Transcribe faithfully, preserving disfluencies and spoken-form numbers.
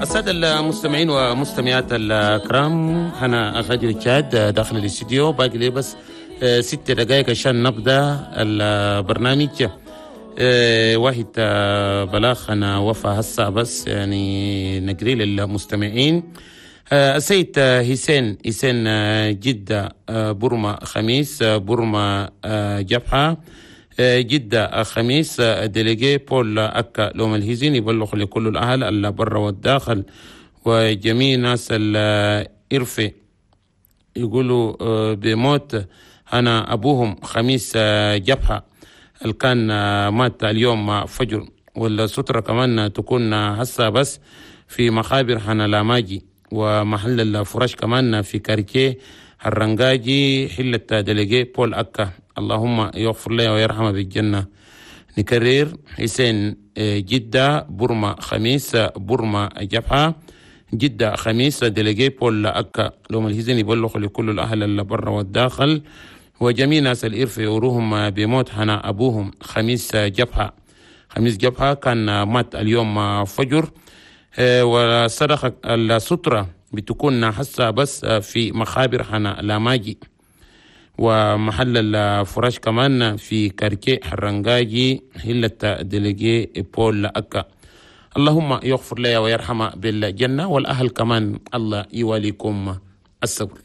السادة المستمعين ومستمعات الكرام، أنا غادر تشاد داخل الاستديو، باقي لي بس ست دقائق عشان نبدأ البرنامج. واحد بلاغ أنا وفى هسه بس يعني نقري للمستمعين. السيد حسين حسين جدة برما خميس برما جبهة جدة خميس délégué بول أكا لوم الهزين يبلغ لكل الأهل اللي برا والداخل وجميع ناس الإرفة يقولوا بموت أنا أبوهم خميس جبهة اللي كان مات اليوم فجر، والسترة كمان تكون هسه بس في مخابر حنا لاماجي ومحل الفرش كمان في quartier الرنجاجي حلة délégué بول أكا. اللهم يغفر له ويرحمه بالجنة. نكرر حسين جدة برما خميس برما جبهة جدة خميس délégué بول أكا لوم الهزين يبلغ لكل الأهل اللي برا والداخل وجميع ناس الإرف يوروهم بموت هنا أبوهم خميس جبهة. خميس جبهة كان مات اليوم فجر، وصدقة السترة بتكون حسة بس في مخابر هنا لاماجي ومحل الفراش كمان في quartier حرنجاجي حلة délégué بول أكا. اللهم يغفر لي ويرحم بالجنة والأهل كمان الله يواليكم الصبر.